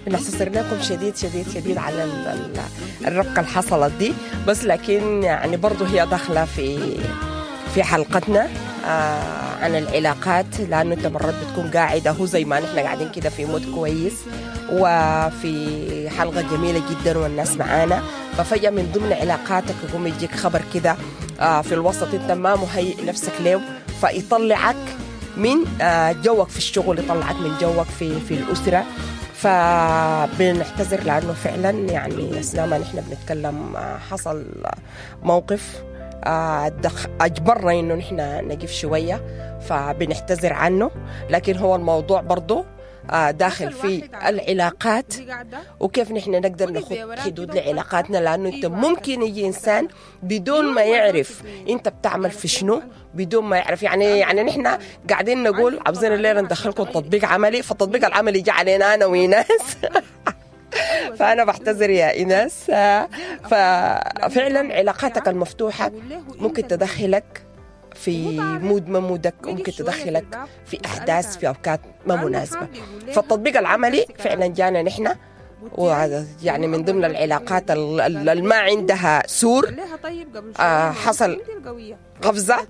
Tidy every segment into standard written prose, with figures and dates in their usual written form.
بنعتذر لكم شديد شديد شديد على الربكة اللي حصلت دي، بس لكن يعني برضو هي داخلة في حلقتنا عن العلاقات، لأنه أنت مرات بتكون قاعدة هو زي ما نحن قاعدين كده في mood كويس وفي حلقة جميلة جدا والناس معانا، ففجأة من ضمن علاقاتك يقوم يجيك خبر كده في الوسط أنت ما مهيئ نفسك له، فيطلعك من جوك في الشغل، يطلعك من جوك في الأسرة. فبنعتذر لأنه فعلا يعني أثناء ما نحن بنتكلم حصل موقف أجبرنا إنه نحن نقف شوية، فبنعتذر عنه. لكن هو الموضوع برضو داخل في العلاقات وكيف نحن نقدر نخط حدود لعلاقاتنا، لأنه أنت ممكن يجي إنسان بدون ما يعرف أنت بتعمل في شنو، بدون ما يعرف يعني نحن قاعدين نقول عاوزين الليلة ندخلكم تطبيق عملي، فالتطبيق العملي جاء علينا أنا وإيناس. فأنا بعتذر يا إيناس. ففعلا علاقاتك المفتوحة ممكن تدخلك في mood ما mood ك، ممكن تدخلك في أحداث في أوقات ما مناسبة. فالتطبيق العملي فعلا جانا نحن، ويعني من ضمن العلاقات اللي ما عندها سور حصل قفزة،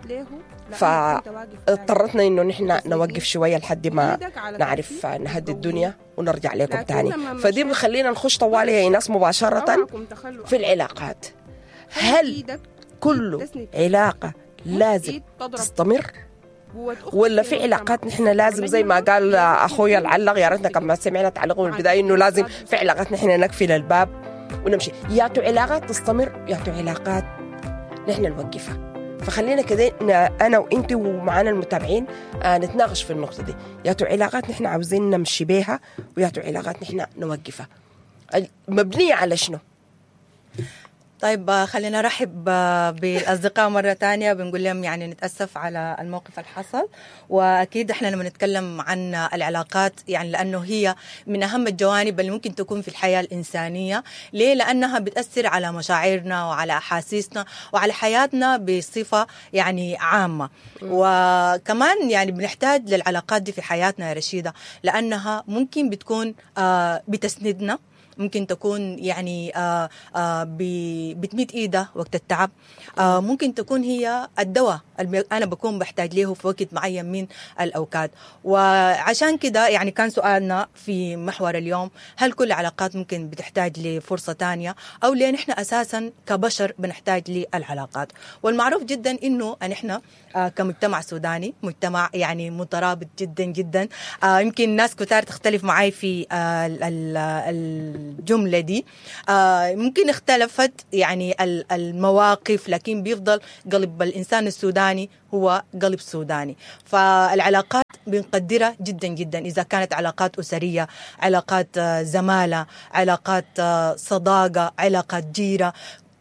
فاضطرتنا إنه نحن نوقف شوية لحد ما نعرف نهدي الدنيا ونرجع لكم تاني. فدي بخلينا نخش طوالي يا إيناس مباشرة في العلاقات. هل كل علاقة لازم تستمر، ولا في علاقات نحن لازم زي ما قال أخويا العلق، يا ريتنا كما سمعنا تعليقه من البداية، إنه لازم في علاقات نحن نقفل الباب ونمشي، ياتو علاقات تستمر، ياتو علاقات نحن نوقفها. فخلينا كده أنا وإنت ومعانا المتابعين نتناقش في النقطة دي، ياتو علاقات نحن عاوزين نمشي بيها، وياتو علاقات نحن نوقفها، مبنية على شنو؟ طيب خلينا نرحب بالأصدقاء مرة تانية، بنقول لهم يعني نتأسف على الموقف اللي حصل. وأكيد إحنا لما نتكلم عن العلاقات يعني لأنه هي من أهم الجوانب اللي ممكن تكون في الحياة الإنسانية. ليه؟ لأنها بتأثر على مشاعرنا وعلى أحاسيسنا وعلى حياتنا بصفة يعني عامة. وكمان يعني بنحتاج للعلاقات دي في حياتنا يا رشيدة، لأنها ممكن بتكون بتسندنا، ممكن تكون يعني بتميت إيدها وقت التعب، ممكن تكون هي الدواء اللي أنا بكون بحتاج له في وقت معين من الأوقات. وعشان كده يعني كان سؤالنا في محور اليوم، هل كل العلاقات ممكن بتحتاج لفرصة تانية، أو ليه نحن أساسا كبشر بنحتاج للعلاقات؟ والمعروف جدا إنه نحن كمجتمع سوداني مجتمع يعني مترابط جدا جدا، يمكن ناس كتار تختلف معي في الجملة دي، ممكن اختلفت يعني المواقف، لكن بيفضل قلب الإنسان السوداني هو قلب سوداني. فالعلاقات بنقدرها جدا جدا، إذا كانت علاقات أسرية، علاقات زمالة، علاقات صداقة، علاقات جيرة،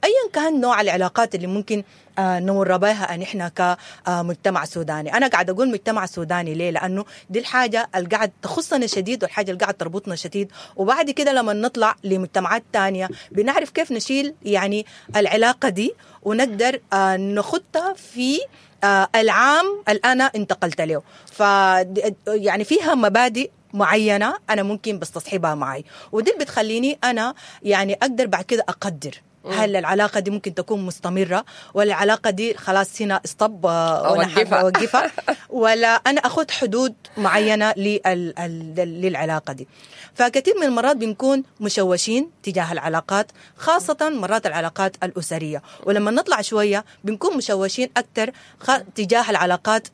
أيا كان نوع العلاقات اللي ممكن نمر بها نحن كمجتمع سوداني. أنا قاعد أقول مجتمع سوداني ليه؟ لأنه دي الحاجة اللي قاعد تخصنا شديد، والحاجة اللي قاعد تربطنا شديد. وبعد كده لما نطلع لمجتمعات تانية بنعرف كيف نشيل يعني العلاقة دي ونقدر نخطها في العام اللي أنا انتقلت له. ف يعني فيها مبادئ معينة أنا ممكن بستصحبها معي، ودي اللي بتخليني أنا يعني أقدر بعد كده أقدر هل العلاقة دي ممكن تكون مستمرة، ولا العلاقة دي خلاص هنا استب وأنا حابة أوقفها، ولا أنا أخذ حدود معينة للعلاقة دي. فكثير من المرات بنكون مشوشين تجاه العلاقات، خاصة مرات العلاقات الأسرية، ولما نطلع شوية بنكون مشوشين أكثر تجاه العلاقات،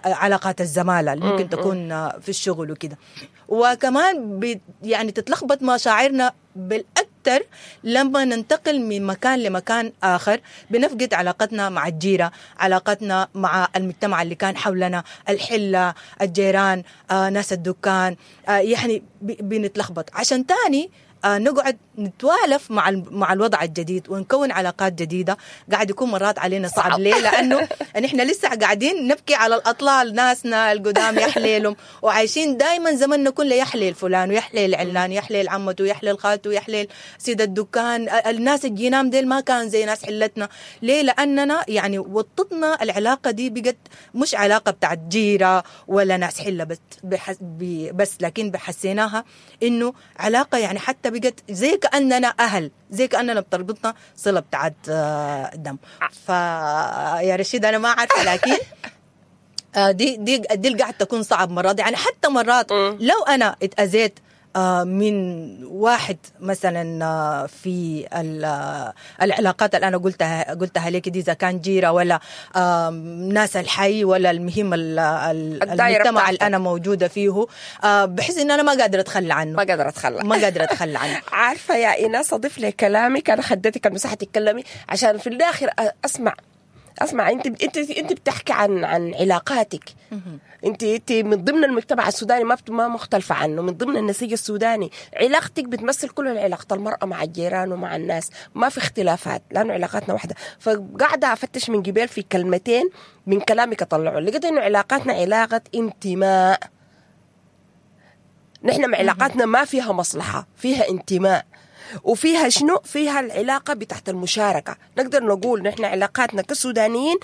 علاقات الزمالة اللي ممكن تكون في الشغل وكده. وكمان يعني تتلخبط مشاعرنا بالأكثر لما ننتقل من مكان لمكان آخر، بنفقد علاقتنا مع الجيرة، علاقتنا مع المجتمع اللي كان حولنا، الحلة، الجيران، ناس الدكان، يعني بنتلخبط. عشان تاني نقعد نتوالف مع الوضع الجديد ونكون علاقات جديدة قاعد يكون مرات علينا صعب. ليه؟ لانه نحن لسه قاعدين نبكي على الاطلال، ناسنا القدام يا حليلهم، وعايشين دائما زمننا كله يا حليل فلان ويا حليل علان، يا حليل عمته، يا حليل خالته، يا حليل سيد الدكان. الناس الجينام ديل ما كان زي ناس حلتنا. ليه؟ لاننا يعني وطتنا العلاقة دي بقت مش علاقة بتاعت جيره ولا ناس حله بس، لكن بحسيناها انه علاقة يعني حتى بقت زي كاننا اهل، زي كاننا بتربطنا صله بتاعت دم. فيا رشيد انا ما عارفه، لكن دي دي دي اللي قاعد تكون صعب مرات. يعني حتى مرات لو انا اتاذيت من واحد مثلا في العلاقات اللي انا قلتها لك دي، اذا كان جيره ولا ناس الحي ولا المهم المجتمع اللي انا موجودة فيه، بحس ان انا ما قادرة اتخلى عنه، ما قادرة اتخلى، ما قادرة اتخلى عنه. عارفه يا ايناس، اضيف لكلامك، انا خدتك المساحة تتكلمي عشان في الاخر اسمع انت بتحكي عن علاقاتك. انت من ضمن المجتمع السوداني، ما مختلفة عنه، من ضمن النسيج السوداني. علاقتك بتمثل كل علاقة المراة مع الجيران ومع الناس، ما في اختلافات لانه علاقاتنا واحدة. فقاعدة افتش من قبل في كلمتين من كلامك اطلعه، لقيت انه علاقاتنا علاقة انتماء. نحن مع علاقاتنا ما فيها مصلحة، فيها انتماء، وفيها شنو؟ فيها العلاقة بتاعت المشاركة. نقدر نقول نحن علاقاتنا كسودانيين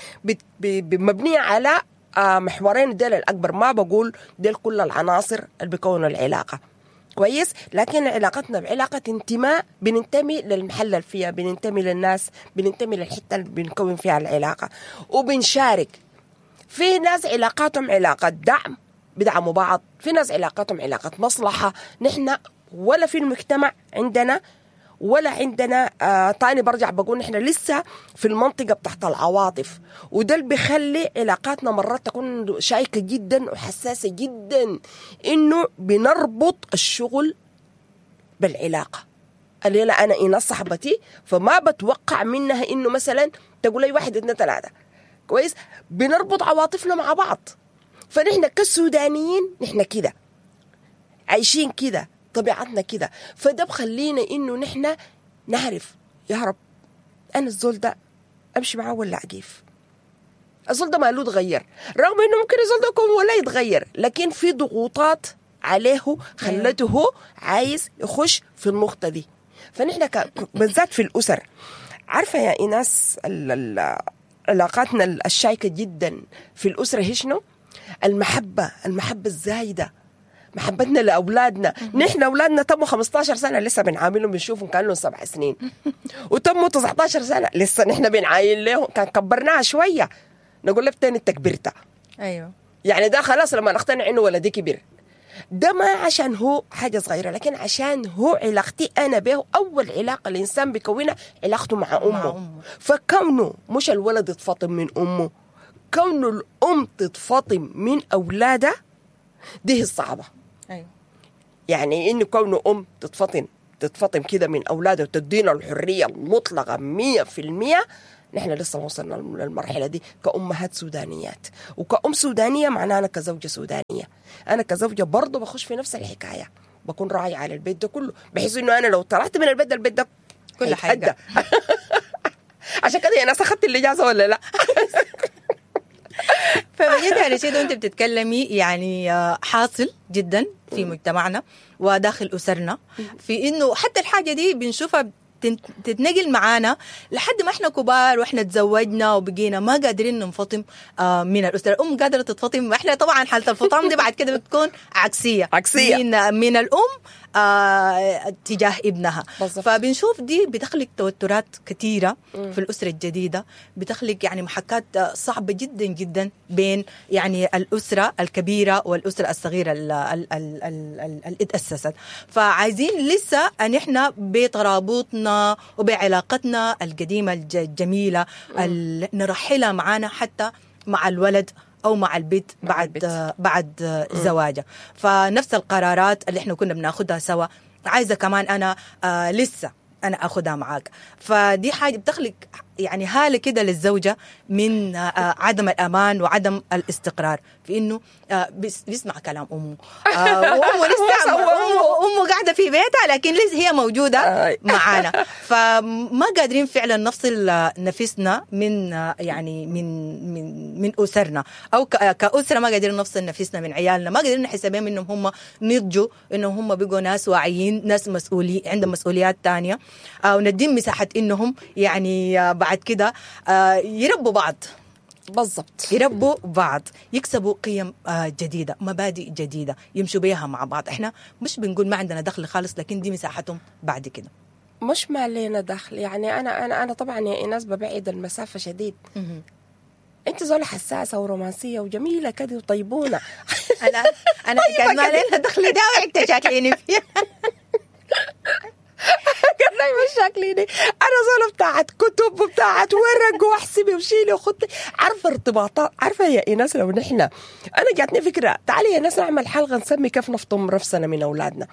مبنية على محورين ديل الأكبر. ما بقول ديل كل العناصر اللي بيكونوا العلاقة، كويس، لكن علاقتنا بعلاقة انتماء، بننتمي للمحل اللي فيها، بننتمي للناس، بننتمي للحتة اللي بنكون فيها العلاقة، وبنشارك. في ناس علاقاتهم علاقة دعم، بدعموا بعض، في ناس علاقاتهم علاقة مصلحة. نحن ولا في المجتمع عندنا ولا عندنا تاني برجع بقول نحن لسه في المنطقة بتاعت العواطف، وده اللي بيخلي علاقاتنا مرات تكون شائكة جدا وحساسة جدا، إنه بنربط الشغل بالعلاقة. الليلة أنا إيناس صاحبتي، فما بتوقع منها إنه مثلا تقول لي 1 2 3، كويس، بنربط عواطفنا مع بعض. فنحن كسودانيين نحن كده عايشين كده، طبيعتنا كده. فده بخلينا انه نحن نعرف يا رب انا الزول ده امشي معاه ولا اقيف. الزول ده ما له تغير، رغم انه ممكن الزول ده يكون ولا يتغير، لكن في ضغوطات عليه خلته هو عايز يخش في النقطة دي. فنحن بالذات في الاسر، عارفه يا ايناس علاقاتنا الشائكه جدا في الاسرة هي شنو؟ المحبة، المحبة الزايدة، محبتنا لأولادنا. نحن أولادنا تموا 15 سنة لسه بنعاملهم، بنشوفهم كأنهم 7 سنين، وتموا 19 سنة لسه نحن بنعاين لهم. كان كبرناها شوية نقول له تاني انت كبرت. أيوة، يعني ده خلاص لما نقتنع إنه ولدي كبر، ده ما عشان هو حاجة صغيرة، لكن عشان هو علاقتي أنا به. أول علاقة الإنسان بيكونها علاقته مع أمه. فكونه مش الولد يتفاطم من أمه، كونه الأم تتفاطم من أولادها، دي الصعبة. أيوة. يعني إنه كونه أم تتفطن كده من أولادها وتدينا الحرية المطلقة 100%، نحن لسه ما وصلنا للمرحلة دي كأمهات سودانيات. وكأم سودانية معناها أنا كزوجة سودانية، أنا كزوجة برضو بخش في نفس الحكاية، بكون راعي على البيت ده كله، بحيث إنه أنا لو طلعت من البيت ده البيت ده كل حاجة. عشان كده يا ناس أخذت الإجازة ولا لا؟ فبجد يا رشيد وانت بتتكلمي يعني حاصل جدا في مجتمعنا وداخل أسرنا، في انه حتى الحاجة دي بنشوفها تتنقل معانا لحد ما احنا كبار واحنا تزوجنا وبقينا ما قادرين ننفطم من الأسرة. الأم قادرة تتفطم، احنا طبعا حالة الفطام دي بعد كده بتكون عكسية من الأم تجاه ابنها. بالزبط. فبنشوف دي بتخلق توترات كثيرة في الأسرة الجديدة، بتخلق يعني محكات صعبة جدا جدا بين يعني الأسرة الكبيرة والأسرة الصغيرة اللي اتأسست. فعايزين لسه أن احنا بترابطنا وبعلاقتنا القديمة الجميلة نرحلها معانا حتى مع الولد أو مع البيت بعد زواجه. فنفس القرارات اللي احنا كنا بناخدها سوا عايزة كمان أنا لسه أنا أخدها معاك. فدي حاجة بتخلق يعني هالة كده للزوجة من عدم الأمان وعدم الاستقرار في إنه بيسمع كلام أمه، وأمه لسه أمه قاعدة قاعدة في بيتها لكن لسه هي موجودة معانا. فما قادرين فعلا نفصل نفسنا من يعني من من من اسرنا، او كاسره ما قادرين نفصل نفسنا من عيالنا، ما قادرين نحس بهم انهم هم نضجوا، انهم هم بقوا ناس واعيين، ناس مسؤولين، عندهم مسؤوليات ثانية، ونديهم مساحة انهم يعني بعد كده يربوا بعض. بالضبط، يربوا بعض، يكسبوا قيم جديدة، مبادئ جديدة يمشوا بيها مع بعض. احنا مش بنقول ما عندنا دخل خالص، لكن دي مساحتهم بعد كده. مش ما لينا دخل يعني. انا انا انا طبعا يا ايناس ببعد المسافة شديد. انت زولة حساسة ورومانسيه وجميلة كده وطيبونه. انا حكاية ما لنا دخل ده وانت شاكليني فيها. قال لي مش شاكليني، انا زولة بتاعت كتب وبتاعت ورق واحسبي وشيلي وخطي، عارفه ارتباطات. عارفه يا ايناس لو نحن، انا جاتني فكرة، تعالي يا ناس نعمل حلقة نسمي كيف نفطم نفسنا من اولادنا.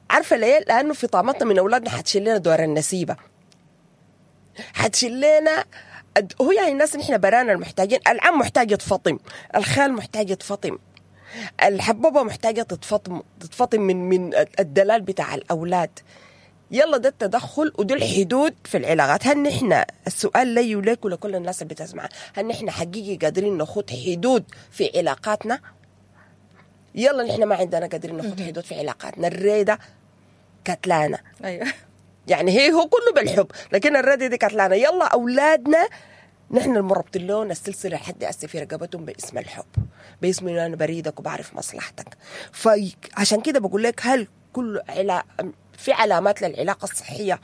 عارفه ليه؟ لانه في طعمتنا من اولادنا حتشيل لنا دور النسيبه، حتشيل لنا هو يعني الناس نحن برانا المحتاجين. العم محتاج يتفطم، الخال محتاج يتفطم، الحبوبه محتاجه تتفطم، تتفطم من الدلال بتاع الاولاد. يلا ده التدخل ودي الحدود في العلاقات. هل نحن، السؤال لي وليك ولكل الناس اللي بتسمع، هل نحن حقيقي قادرين نخوض حدود في علاقاتنا؟ يلا نحن ما عندنا قادرين نخوض حدود في علاقاتنا. الريدة كتلانة. ايوه يعني هي هو كله بالحب، لكن الريدة دي كتلانة. يلا أولادنا نحن المربطين لهم السلسلة لحد هسه في رقبتهم باسم الحب، باسم إنه أنا بريدك وبعرف مصلحتك. فعشان كده بقول لك، هل كل في علامات للعلاقة الصحية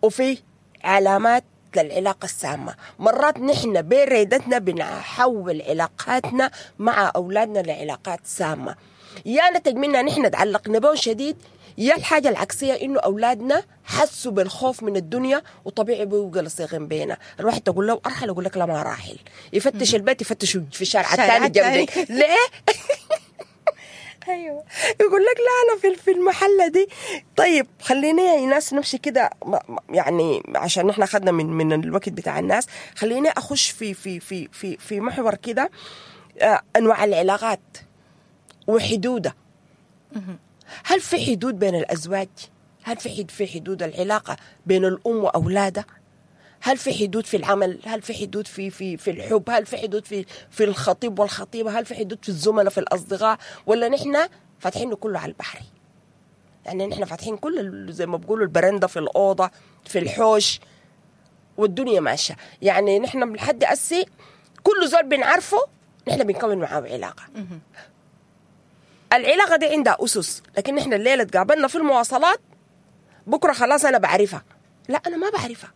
وفي علامات للعلاقة السامة. مرات نحن بريدتنا بنحول علاقاتنا مع أولادنا لعلاقات سامة، يا نتج منها نحن تعلقنا بهم شديد، يا الحاجة العكسية إنه أولادنا حسوا بالخوف من الدنيا وطبيعي بيبقوا لصيغين بينا. الواحد تقول له أرحل يقول لك لا ما راحل، يفتش البيت يفتش في الشارع الثاني جنبي. ليه؟ ايوه يقول لك لا انا في المحلة دي. طيب خليني يا ناس نمشي كده، يعني عشان نحن اخذنا من الوقت بتاع الناس، خليني اخش في في في في في محور كده، انواع العلاقات وحدودها. هل في حدود بين الازواج؟ هل في حدود العلاقة بين الام واولادها؟ هل في حدود في العمل؟ هل في حدود في في في الحب؟ هل في حدود في الخطيب والخطيبه؟ هل في حدود في الزملاء، في الاصدقاء؟ ولا نحن فاتحينه كله على البحر؟ يعني نحن فاتحين كل زي ما بيقولوا البرندة في الاوضة، في الحوش، والدنيا ماشية. يعني نحن لحد اسي كل زول بنعرفه نحن بنكون معاه علاقة. العلاقة دي عندها اسس، لكن نحن الليلة تقابلنا في المواصلات، بكره خلاص انا بعرفها. لا انا ما بعرفها.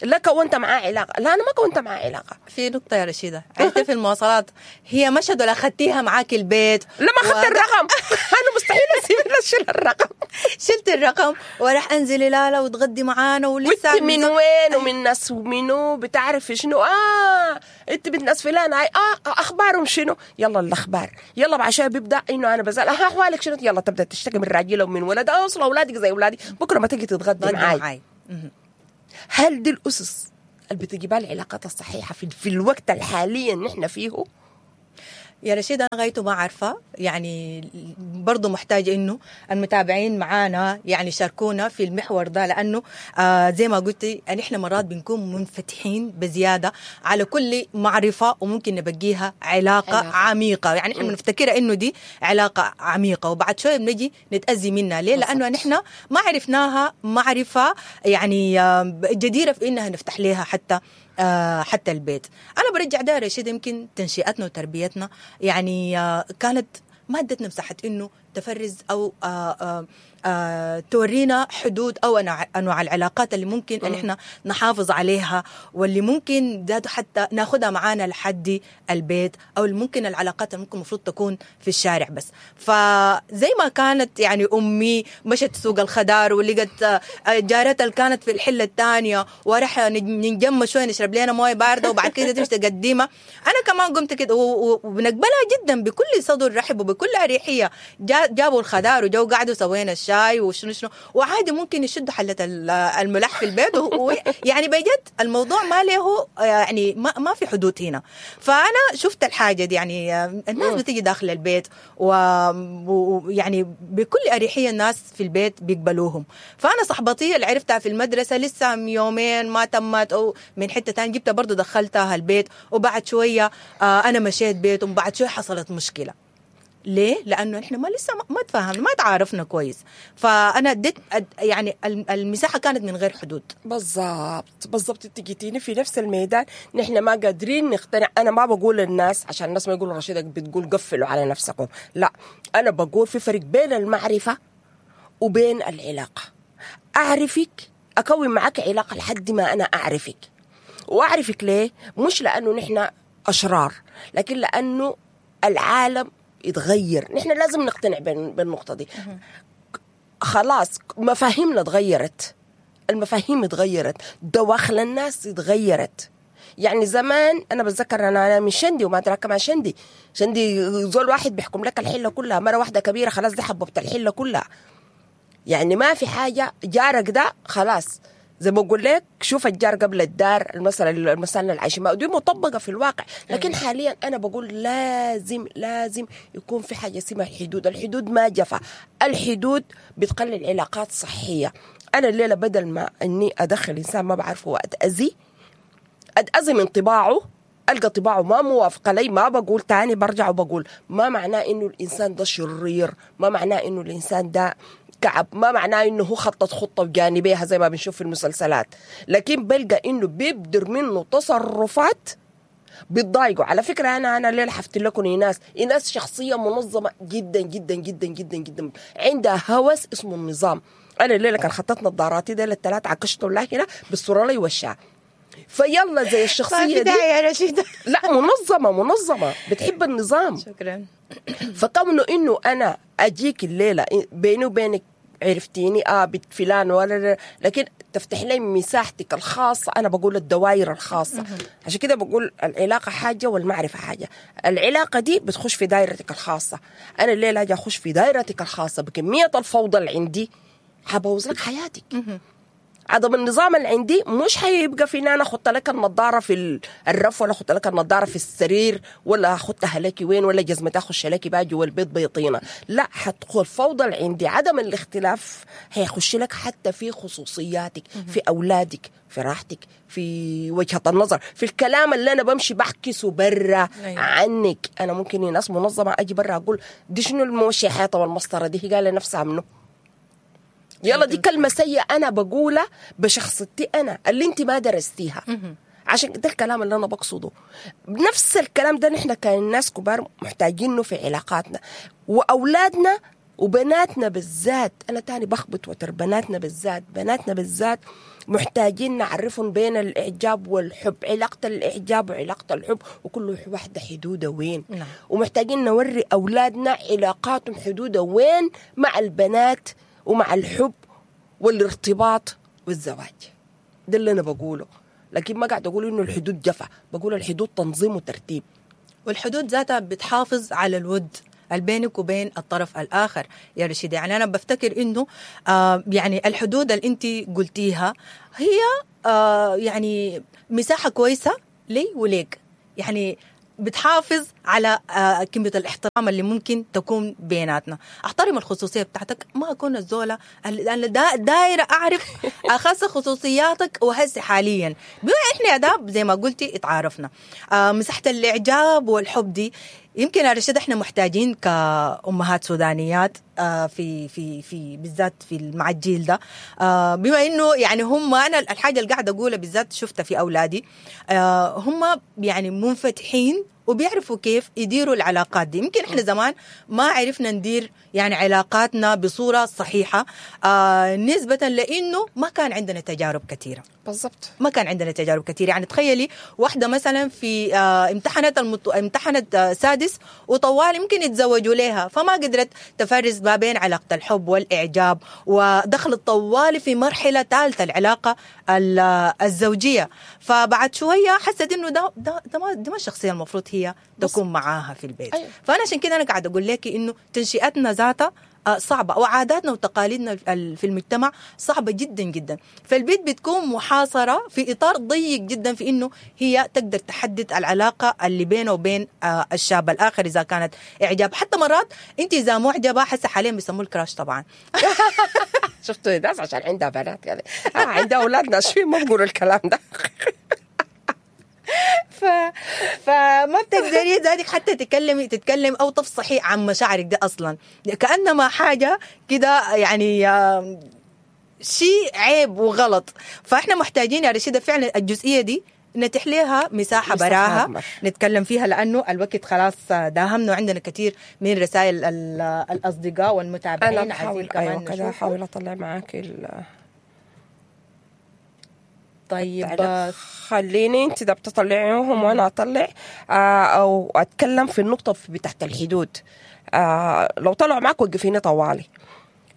لا كونت معاه علاقة، لا انا ما كونت معاه علاقة. في نقطة يا رشيده، انت في المواصلات هي مشهد ولا اخذتيها معاك البيت؟ لا ما اخذت الرقم. انا مستحيل اسيب اشيل الرقم. شلت الرقم وراح انزلي لالا وتغدي معانا ولسه وانت من وين ومن ناس ومنو بتعرفي شنو؟ انت بنت ناس فلان، اخبارهم شنو؟ يلا الاخبار، يلا بعد شوية بيبدا انه انا بسال احوالك شنو؟ يلا تبدا تشتكي من راجلها ومن ولدها، اصل اولادك زي اولادي، بكره ما تيجي تتغدي معاي. هل دي الأسس اللي بتجيبها العلاقات الصحيحة في الوقت الحالي اللي نحن فيه؟ يا رشيد أنا غايته ما عارفة، يعني برضو محتاجة إنه المتابعين معانا يعني شاركونا في المحور ده، لأنه زي ما قلتي نحن مرات بنكون منفتحين بزيادة على كل معرفة وممكن نبقيها علاقة عميقة. يعني نحن بنفتكرها إنه دي علاقة عميقة وبعد شوية بنجي نتأذي منها. ليه؟ لأنه نحن ما عرفناها معرفة يعني جديرة في إنها نفتح لها حتى البيت. أنا برجع ده رشيد، يمكن تنشئتنا وتربيتنا يعني كانت ما ادتنا مساحة إنه تفرز أو تورينا حدود أو أنواع العلاقات اللي ممكن أن إحنا نحافظ عليها، واللي ممكن ذاته حتى ناخدها معانا لحد البيت، أو اللي ممكن العلاقات اللي ممكن المفروض تكون في الشارع بس. فزي ما كانت يعني أمي مشت سوق الخضار ولقت جارتها اللي كانت في الحلة الثانية، وراح ننجم شوية نشرب لنا موية باردة وبعد كده تمشي تقديمها. أنا كمان قمت كده وبنقبلها جدا بكل صدر رحب وبكل أريحية. جات جابوا الخضار وجو قعدوا سوينا الشاي وشنو شنو، وعادي ممكن يشدوا حله الملاح في البيت يعني بجد الموضوع ما له يعني ما في حدود هنا. فانا شفت الحاجة دي، يعني الناس بتيجي داخل البيت ويعني بكل اريحية الناس في البيت بيقبلوهم. فانا صاحبتي اللي عرفتها في المدرسة لسه يومين ما تمت او من حتة ثانية جبتها برضه دخلتها البيت، وبعد شوية انا مشيت بيتهم، بعد شوية حصلت مشكلة. ليه؟ لانه احنا ما لسه ما تفاهمنا، ما تعارفنا كويس. فانا اديت يعني المساحة كانت من غير حدود. بالضبط بالضبط، انت جيتيني في نفس الميدان. نحن ما قادرين نقتنع. انا ما بقول للناس عشان الناس ما يقولوا رشيدك بتقول قفلوا على نفسكم، لا، انا بقول في فرق بين المعرفة وبين العلاقة. اعرفك، اكون معك علاقة لحد ما انا اعرفك. واعرفك ليه؟ مش لانه نحن اشرار، لكن لانه العالم يتغير. نحن لازم نقتنع بالنقطة دي. خلاص مفاهيمنا تغيرت، المفاهيم تغيرت، دواخل الناس تغيرت. يعني زمان انا بتذكر انا من شندي وما ادراك ما شندي. شندي زول واحد بيحكم لك الحلة كلها، مرة واحدة كبيرة خلاص دي حببت الحلة كلها. يعني ما في حاجة، جارك ده خلاص زي ما بقول لك شوف الجار قبل الدار، المثل العايشين دي مطبقه في الواقع. لكن حاليا انا بقول لازم لازم يكون في حاجة اسمها الحدود. الحدود ما جفا، الحدود بتقلل علاقات صحية. انا الليلة بدل ما اني ادخل انسان ما بعرفه واتاذي، اتاذي من طباعه، القى طباعه ما موافقة لي، ما بقول تاني، برجع وبقول ما معناه انه الانسان ده شرير، ما معناه انه الانسان ده كعب، ما معناه انه هو خطط خطه وجانبيها زي ما بنشوف في المسلسلات، لكن بلقى انه بيبدر منه تصرفات بتضايقه. على فكرة انا الليلة حفت لكم ايناس شخصية منظمة جدا جدا جدا جدا جدا، عندها هوس اسمه النظام. انا الليلة كان خططت نظاراتي دي الثلاث عكشتهم لها هنا بالصورة لي وشها، فيلا زي الشخصية دي يا رشيده. لا منظمة بتحب النظام. شكرا. فكونه انه انا اجيك الليلة بيني وبينك عرفتيني بنت فلان ولا، لكن تفتح لي مساحتك الخاصة. انا بقول الدوائر الخاصة، عشان كده بقول العلاقة حاجة والمعرفة حاجة. العلاقة دي بتخش في دائرتك الخاصة. انا الليلة اجي اخش في دائرتك الخاصة بكمية الفوضى اللي عندي، حبوظ لك حياتك. عدم النظام اللي عندي مش هيبقى في ان انا احط لك النظارة في الرف، ولا احط لك النظارة في السرير، ولا احطها لك وين، ولا جزمه اخش لك باجي والبيت بيطينه. لا، حتدخل الفوضى اللي عندي، عدم الاختلاف هيخش لك حتى في خصوصياتك، في اولادك، في راحتك، في وجهه النظر، في الكلام اللي انا بمشي بحكسه برا عنك. انا ممكن ناس منظمة اجي برا اقول دي شنو الموشي حيطة والمسطره دي، هي قال نفسها منه. يلا دي كلمة سيئة أنا بقولها بشخصيتي أنا اللي أنت ما درستيها. عشان ده الكلام اللي أنا بقصده. نفس الكلام ده نحن كناس كبار محتاجينه في علاقاتنا وأولادنا وبناتنا بالذات. أنا تاني بخبط وتر بناتنا بالذات، بناتنا بالذات محتاجين نعرفهم بين الإعجاب والحب، علاقة الإعجاب وعلاقة الحب، وكل واحدة حدوده وين. نعم. ومحتاجين نوري أولادنا علاقاتهم حدوده وين مع البنات ومع الحب والارتباط والزواج. ده اللي أنا بقوله، لكن ما قاعد أقول إنه الحدود جفا، بقول الحدود تنظيم وترتيب، والحدود ذاتها بتحافظ على الود بينك وبين الطرف الآخر يا رشيدة. يعني أنا بفتكر إنه يعني الحدود اللي أنت قلتيها هي يعني مساحة كويسة لي وليك، يعني بتحافظ على كمية الاحترام اللي ممكن تكون بيناتنا. احترم الخصوصية بتاعتك، ما أكون الزولة أنا دايرة أعرف أخص خصوصياتك. وهسه حاليا بما إحنا يا داب زي ما قلتي اتعارفنا، مساحة الإعجاب والحب دي يمكن يا رشيد احنا محتاجين كأمهات سودانيات في في في بالذات في مع الجيل ده، بما انه يعني هم، انا الحاجة اللي قاعدة اقولها بالذات شفتها في اولادي، هم يعني منفتحين وبيعرفوا كيف يديروا العلاقات دي. يمكن احنا زمان ما عرفنا ندير يعني علاقاتنا بصورة صحيحة، نسبة لأنه ما كان عندنا تجارب كثيرة. بالضبط، ما كان عندنا تجارب كثيرة. يعني تخيلي واحدة مثلا في امتحنت سادس وطوال يمكن يتزوجوا لها، فما قدرت تفرز ما بين علاقة الحب والإعجاب، ودخلت طوال في مرحلة ثالثة العلاقة الزوجية. فبعد شوية حست إنه ده ما الشخصية المفروض هي تكون معاها في البيت. أيوة. فانا عشان كده انا قاعدة اقول لك انه تنشئتنا ذاتها صعبة، وعاداتنا وتقاليدنا في المجتمع صعبة جدا جدا. فالبيت بتكون محاصرة في اطار ضيق جدا في انه هي تقدر تحدد العلاقة اللي بينه وبين الشاب الاخر اذا كانت اعجاب. حتى مرات انت اذا معجبه، حسه حاليا بيسموه ال crush طبعا. شفتوا الناس عشان عندها بنات يعني، عندها اولاد ناشفين ما بقولوا الكلام ده. فما بتقدري ذاتك حتى تتكلم او تفصحي عن مشاعرك دي اصلا، كانما حاجة كده يعني شيء عيب وغلط. فاحنا محتاجين يا رشيده فعلا الجزئية دي نتيح لها مساحة براها نتكلم فيها، لانه الوقت خلاص داهمنا وعندنا كثير من رسائل الاصدقاء والمتابعين. انا بحاول ايوه كده احاول اطلع معاك طيب خليني انت ده بتطلعيهم وانا اطلع او اتكلم في النقطة بتاعت الحدود. لو طلعوا معك وقفيني طوالي.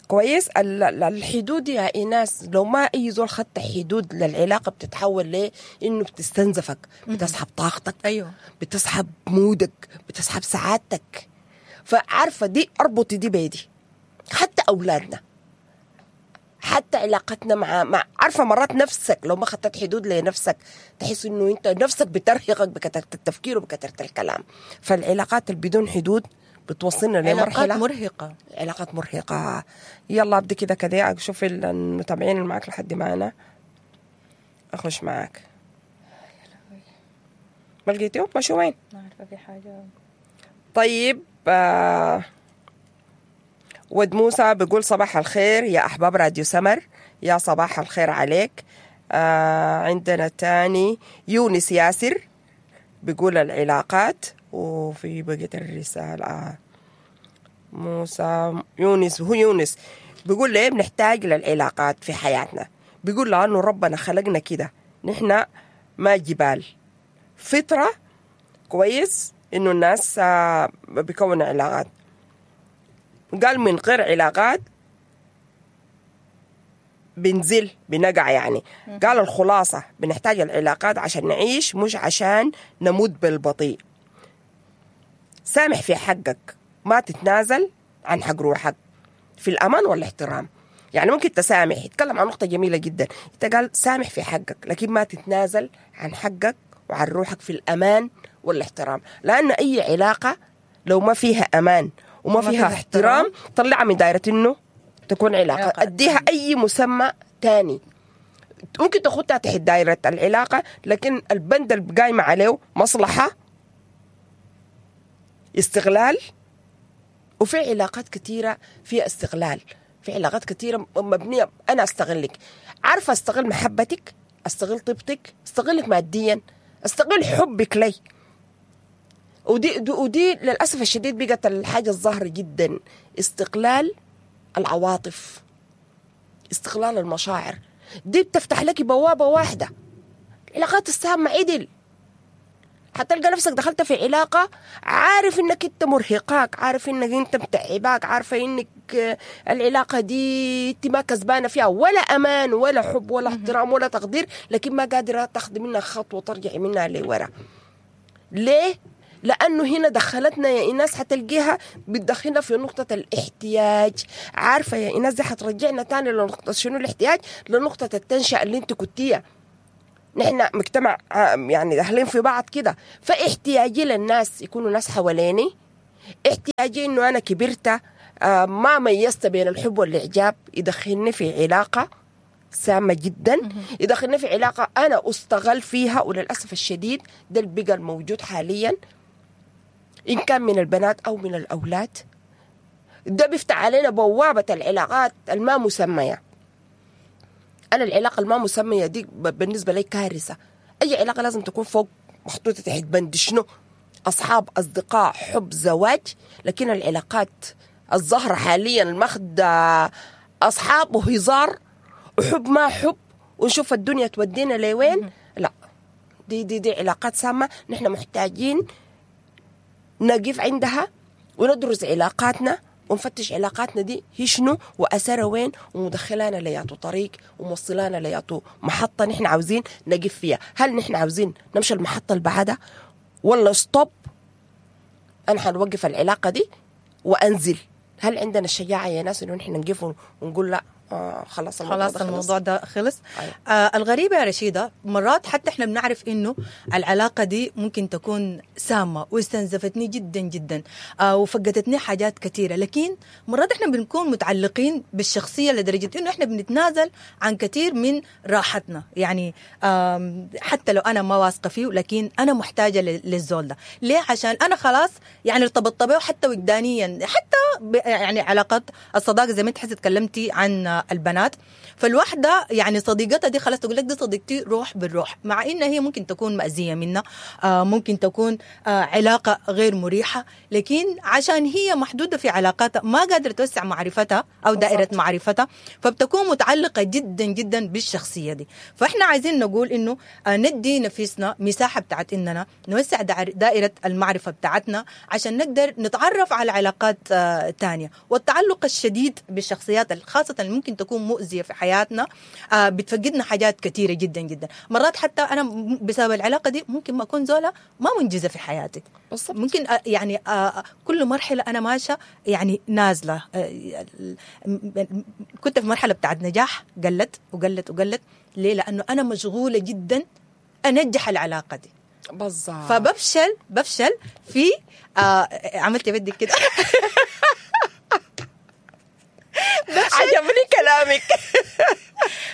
كويس. الحدود يا ايناس، لو ما اي زول خدت حدود للعلاقة بتتحول ليه انه بتستنزفك، بتسحب طاقتك، ايوه، بتسحب مودك، بتسحب سعادتك. فعارفه دي اربطي دي بيدي، حتى اولادنا، حتى علاقتنا مع عارفه مرات نفسك لو ما خدت حدود لنفسك تحس انه انت نفسك بترهقك بكثرة التفكير وبكثرة الكلام. فالعلاقات اللي بدون حدود بتوصلنا لمرحلة علاقات مرهقة، علاقات مرهقة. يلا ابدي كده كده اشوف المتابعين اللي معاك لحد ما انا اخش معاك. ما لقيتيهم؟ مشوا وين؟ ما عارفه في حاجة. طيب ود موسى بيقول صباح الخير يا أحباب راديو سمر، يا صباح الخير عليك. عندنا تاني يونس ياسر بيقول العلاقات، وفي بقية الرسالة موسى يونس، هو يونس بيقول ليه بنحتاج للعلاقات في حياتنا؟ بيقول لأنه ربنا خلقنا كده، نحن ما جبال، فطرة. كويس إنه الناس بيكون علاقات. قال من غير علاقات بنزل بنقع يعني. قال الخلاصة بنحتاج العلاقات عشان نعيش، مش عشان نموت بالبطيء. سامح في حقك، ما تتنازل عن حق روحك في الأمان والاحترام. يعني ممكن تسامح، يتكلم عن نقطة جميلة جدا، انت قال سامح في حقك لكن ما تتنازل عن حقك وعن روحك في الأمان والاحترام، لأن أي علاقة لو ما فيها أمان وما فيها احترام طلعها من دائرة انه تكون علاقة، اديها اي مسمى تاني. ممكن تاخدها تحت دائرة العلاقة، لكن البند اللي قايمة عليه مصلحة، استغلال. وفي علاقات كثيرة فيها استغلال، في علاقات كثيرة مبنية انا استغلك، عارفة استغل محبتك، استغل طيبتك، استغلك ماديا، استغل حبك لي. ودي للأسف الشديد بقت الحاجة الظاهرة جدا، استقلال العواطف، استقلال المشاعر. دي بتفتح لك بوابة واحدة، العلاقات السامة عدل. حتلقى نفسك دخلت في علاقة عارف انك انت مرهقاك، عارف انك انت متعباك، عارفة انك العلاقة دي انت ما كسبانة فيها ولا امان ولا حب ولا احترام ولا تقدير، لكن ما قادرة تاخذي منها خطوة ترجعي منها لورا. ليه؟ لأنه هنا دخلتنا يا إيناس، حتلقيها بتدخلنا في نقطة الاحتياج. عارفة يا إيناس دي حترجعنا تاني لنقطة شنو الاحتياج؟ لنقطة التنشئة اللي انت كنتيها. نحن مجتمع يعني داخلين في بعض كده، فاحتياجي للناس يكونوا ناس حواليني، احتياجي انه انا كبرت ما ميزت بين الحب والاعجاب، يدخلني في علاقة سامة جدا، يدخلني في علاقة انا استغل فيها. وللأسف الشديد ده اللي بقى الموجود حاليا، إن كان من البنات أو من الأولاد. ده بيفتح علينا بوابة العلاقات الما مسمية. أنا العلاقة الما مسمية دي بالنسبة لي كارثة. أي علاقة لازم تكون فوق محطوطة تحت بند شنو؟ أصحاب، أصدقاء، حب، زواج. لكن العلاقات الظاهرة حاليا الماخدة أصحاب وهزار وحب ما حب، ونشوف الدنيا تودينا لوين. لا، دي دي دي علاقات سامة، نحن محتاجين نقف عندها وندرس علاقاتنا ونفتش علاقاتنا دي هي شنو وأثرها وين، ومدخلانا لياتو طريق وموصلانا لياتو محطة نحن عاوزين نقف فيها. هل نحن عاوزين نمشي المحطة اللي بعدها ولا stop انا حنوقف العلاقة دي وانزل. هل عندنا الشجاعة يا ناس انه نحن نقف ونقول لا، خلاص الموضوع خلاص ده خلص؟ الموضوع ده خلص. أيوة. الغريبة يا رشيدة، مرات حتى احنا بنعرف انه العلاقة دي ممكن تكون سامة واستنزفتني جدا جدا، وفقدتني حاجات كثيرة، لكن مرات احنا بنكون متعلقين بالشخصية لدرجة انه احنا بنتنازل عن كثير من راحتنا. يعني حتى لو انا ما واثقة فيه، لكن انا محتاجة للزول ده. ليه؟ عشان انا خلاص يعني ارتبطت به حتى وجدانيا، حتى يعني علاقات الصداقة زي ما انت حسي تكلمتي عن البنات، فالوحدة يعني صديقتها دي خلاص تقول لك دي صديقتي روح بالروح، مع إن هي ممكن تكون مأذية منا، ممكن تكون علاقة غير مريحة، لكن عشان هي محدودة في علاقاتها ما قادرة توسع معرفتها أو دائرة معرفتها، فبتكون متعلقة جدا جدا بالشخصية دي. فإحنا عايزين نقول إنه ندي نفسنا مساحة بتاعت إننا نوسع دائرة المعرفة بتاعتنا عشان نقدر نتعرف على علاقات تانية. والتعلق الشديد بالشخصيات خاصة اللي ممكن تكون مؤذية في حياتنا بتفقدنا حاجات كثيرة جدا جدا. مرات حتى أنا بسبب العلاقة دي ممكن ما أكون زولة ما منجزة في حياتي. بالضبط. ممكن يعني كل مرحلة أنا ماشية يعني نازلة، كنت في مرحلة بتاعت نجاح قلت وقلت وقلت. ليه؟ لأنه أنا مشغولة جدا أنجح العلاقة دي. بالضبط. فبفشل بفشل في عملت بدك كده. عجبني كلامك.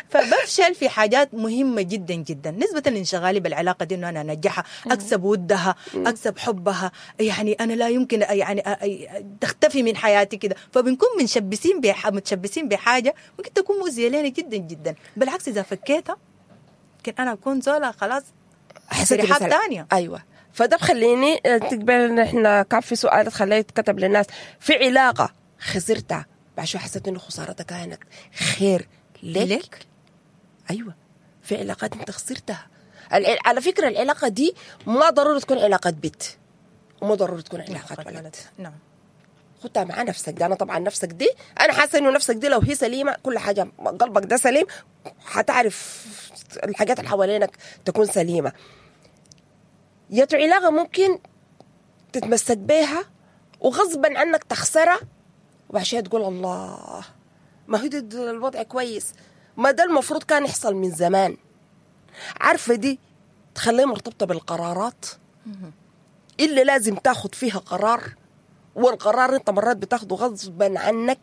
فبفشل في حاجات مهمة جدا جدا نسبة لانشغالي بالعلاقة دي، انه انا انجحها، اكسب ودها، اكسب حبها، يعني انا لا يمكن يعني تختفي من حياتي كده. فبنكون منشبسين متشبسين بحاجة ممكن تكون مؤذية لنا جدا جدا. بالعكس اذا فكيتها يمكن انا اكون زولة خلاص حسيت رحاب تانية. ايوه. فده بخليني تقبل ان احنا كان في سؤال خليه يتكتب للناس، في علاقة خسرتها بعد شوي حسيت انه خسارتها كانت خير لك؟ ايوه، في علاقات انت خسرتها. على فكرة العلاقة دي ما ضروري تكون علاقة بيت، وما ضروري تكون علاقة ولد. نعم. خدها مع نفسك دي. انا طبعا نفسك دي انا حاسه انه نفسك دي لو هي سليمة كل حاجة، قلبك ده سليم، حتعرف الحاجات اللي حوالينك تكون سليمة. يا علاقة ممكن تتمسك بيها وغصبا عنك تخسرها، وبعد تقول الله ما هو ده الوضع كويس، ما ده المفروض كان يحصل من زمان. عارفة دي تخليها مرتبطة بالقرارات اللي لازم تاخد فيها قرار، والقرار انت مرات بتاخده غصبا عنك.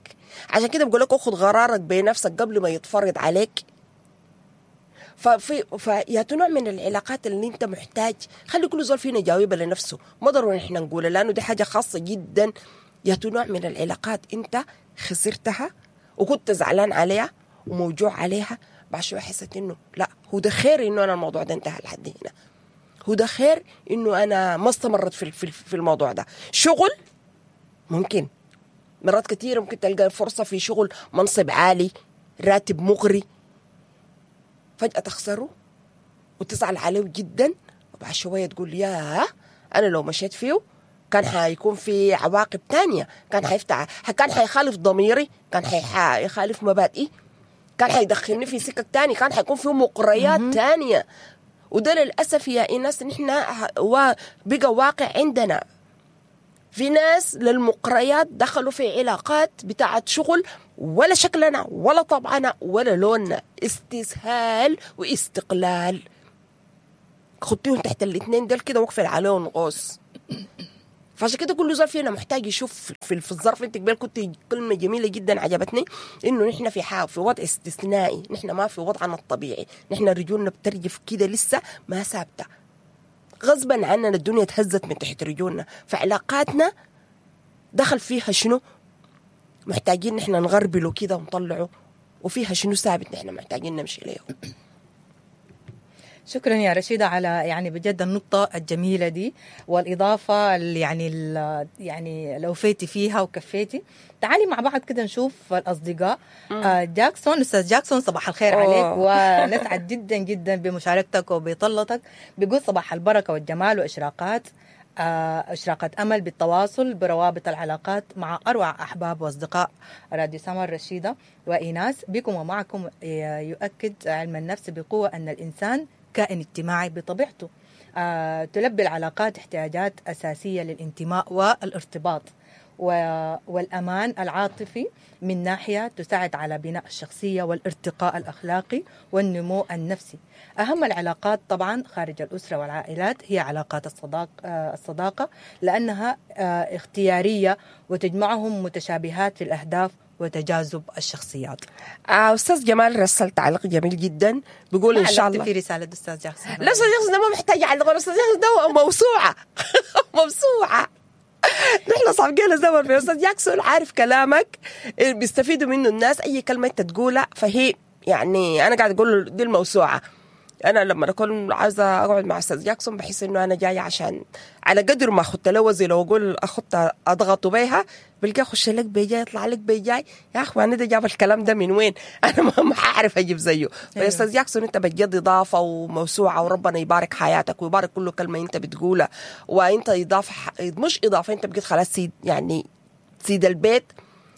عشان كده بقول لك اخد قرارك بنفسك قبل ما يتفرض عليك. فيا نوع من العلاقات اللي انت محتاج، خلي كل زول فينا يجاوبها لنفسه، ما ضروري احنا نقولها لانه دي حاجة خاصة جدا. يا نوع من العلاقات انت خسرتها وكنت زعلان عليها وموجوع عليها، بعد شوية حسيت انه لا هو ده خير انه انا الموضوع ده انتهى لحد هنا، هو ده خير انه انا ما استمرت في الموضوع ده. شغل ممكن مرات كثيرة ممكن تلقى فرصة في شغل منصب عالي، راتب مغري، فجأة تخسره وتزعل عليه جدا، وبعد شوية تقول يا أنا لو مشيت فيه كان حيكون في عواقب تانية، كان حيفتح، كان حيخالف ضميري، كان حيخالف مبادئي، كان حيدخلني في سكك تاني، كان حيكون في مقريات تانية. وده للأسف يا إيناس نحن بقى واقع عندنا. في ناس للمقريات دخلوا في علاقات بتاعت شغل ولا شكلنا ولا طبعنا ولا لوننا، استسهال واستقلال. خطيهم تحت الاثنين دول كده وقفل عليهم قوس. فعشان كده كل زول فينا محتاج يشوف في الظرف. انت قبل كنت كلمة جميلة جدا عجبتني، انه نحن في وضع استثنائي، نحن ما في وضعنا الطبيعي، نحن رجولنا بترجف كده لسه ما ثابتة، غصبا عننا الدنيا تهزت من تحت رجولنا. فعلاقاتنا دخل فيها شنو محتاجين نحن نغربله كده ونطلعه، وفيها شنو ثابت نحن محتاجين نمشي له. شكرا يا رشيدة على يعني بجد النقطة الجميلة دي والإضافة اللي يعني لو فيتي فيها وكفيتي. تعالي مع بعض كده نشوف الأصدقاء. جاكسون، أستاذ جاكسون صباح الخير عليك، ونسعد جدا جدا بمشاركتك وبطلتك. بيقول صباح البركة والجمال وإشراقات إشراقة أمل بالتواصل بروابط العلاقات مع أروع أحباب وأصدقاء راديو سمر رشيدة وإيناس بكم ومعكم. يؤكد علم النفس بقوة أن الإنسان كائن اجتماعي بطبيعته، تلبي العلاقات احتياجات أساسية للانتماء والارتباط والأمان العاطفي من ناحية تساعد على بناء الشخصية والارتقاء الأخلاقي والنمو النفسي. أهم العلاقات طبعا خارج الأسرة والعائلات هي علاقات الصداقة لأنها اختيارية وتجمعهم متشابهات في الأهداف وتجاذب الشخصيات. أستاذ جمال رسل تعليق جميل جدا، بيقول إن شاء الله في رسالة أستاذ جاكسون. لا أستاذ جاكسون ده ما محتاج يعلق، أستاذ جاكسون ده موسوعة موسوعة. نحن صعبين الزمن في أستاذ جاكسون، عارف كلامك بيستفيدوا منه الناس، أي كلمة أنت تقولها فهي يعني أنا قاعد أقول دي الموسوعة. أنا لما أكون عايزة أقعد مع أستاذ جاكسون بحس إنه أنا جاية عشان على قدر ما أخدت له وزي لو أقول أخدت أضغطه بيها بلقى أخش لك بيجاي يطلع لك بيجاي، يا أخوان ده جاب الكلام ده من وين؟ أنا ما حأعرف أجيب زيه. فيا أستاذ جاكسون أنت بجد إضافة وموسوعة، وربنا يبارك حياتك ويبارك كل كلمة أنت بتقولها، وأنت إضافة مش إضافة، أنت بقيت خلاص سيد، يعني سيد البيت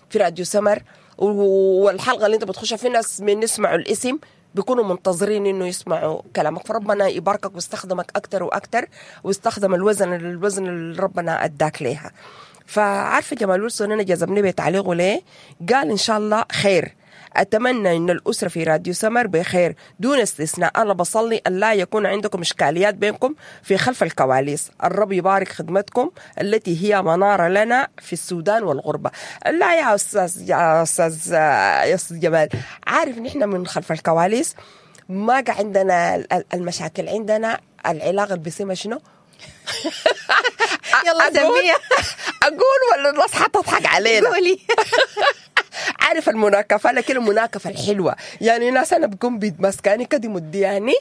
في راديو سمر. والحلقة اللي أنت بتخشها في ناس من يسمعوا الاسم بيكونوا منتظرين انه يسمعوا كلامك، فربنا يباركك ويستخدمك اكتر واكتر، ويستخدم الوزن اللي ربنا اداك ليها. فعارفه جمال ويلسون انا جذبني بتعليقه ليه؟ قال ان شاء الله خير، اتمنى ان الاسرة في راديو سمر بخير دون استثناء، انا بصلي ان لا يكون عندكم اشكاليات بينكم في خلف الكواليس، الرب يبارك خدمتكم التي هي منارة لنا في السودان والغربة. لا يا استاذ يا استاذ جمال، عارف نحن من خلف الكواليس ما عندنا المشاكل، عندنا العلاقة اللي بيسمى شنو؟ يلا سميها. اقول ولا الناس حتضحك علينا؟ قولي. عارف المناكفه، لكن المناكفه الحلوة، يعني ناس انا بكون بيتمسكاني كده مدياني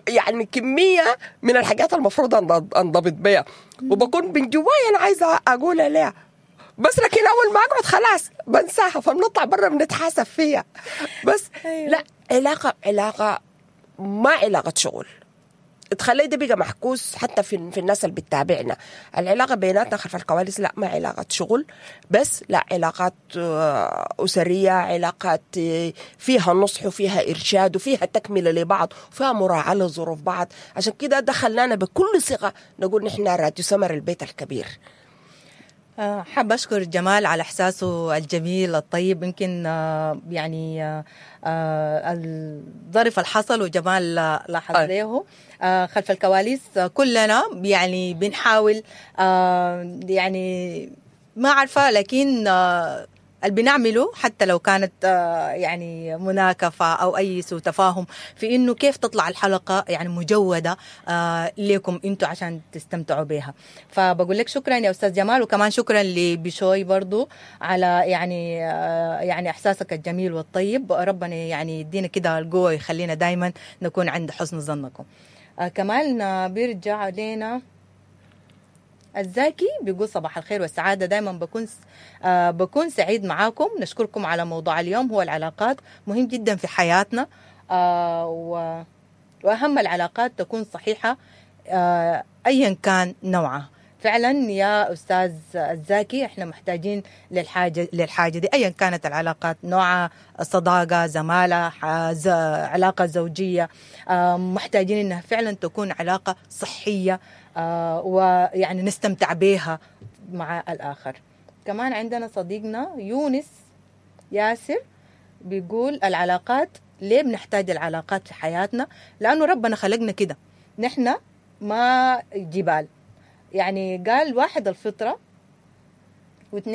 يعني كمية من الحاجات المفروض انضبط بيها، وبكون من جوايا انا عايزه اقولها ليها، بس لكن اول ما اقعد خلاص بنساها، فبنطلع برا بنتحاسب فيها. بس لا، علاقة ما علاقة شغل، تخلي ده بقى محكوس حتى في الناس اللي بتتابعنا. العلاقة بيناتنا خلف الكواليس لا ما علاقة شغل بس، لا علاقات أسرية، علاقات فيها نصح وفيها إرشاد وفيها تكملة لبعض وفيها مراعاة لظروف بعض. عشان كده دخلنا بكل ثقة نقول نحن راديو سمر البيت الكبير. حابة أشكر جمال على إحساسه الجميل الطيب، يمكن يعني الظرف الحصل وجمال لاحظ له خلف الكواليس. كلنا يعني بنحاول، يعني ما عارفة، لكن اللي بنعمله حتى لو كانت يعني مناكفة أو أي سوء تفاهم في إنه كيف تطلع الحلقة يعني مجودة لكم أنتوا عشان تستمتعوا بها. فبقول لك شكرا يا أستاذ جمال، وكمان شكرا لبشوي برضو على يعني إحساسك الجميل والطيب. ربنا يعني يدينا كده القوة ويخلينا دايما نكون عند حسن ظنكم. كمان بيرجع لنا الزاكي بيقول صباح الخير والسعادة، دايما بكون سعيد معاكم. نشكركم على موضوع اليوم، هو العلاقات مهم جدا في حياتنا، وأهم العلاقات تكون صحيحة أيا كان نوعها. فعلا يا أستاذ الزاكي احنا محتاجين للحاجة دي أيا كانت العلاقات نوعها، صداقة، زمالة، علاقة زوجية، محتاجين إنها فعلا تكون علاقة صحية ويعني نستمتع بها مع الآخر. كمان عندنا صديقنا يونس ياسر بيقول العلاقات ليه بنحتاج العلاقات في حياتنا؟ لأنه ربنا خلقنا كده، نحن ما جبال. يعني قال واحد الفطرة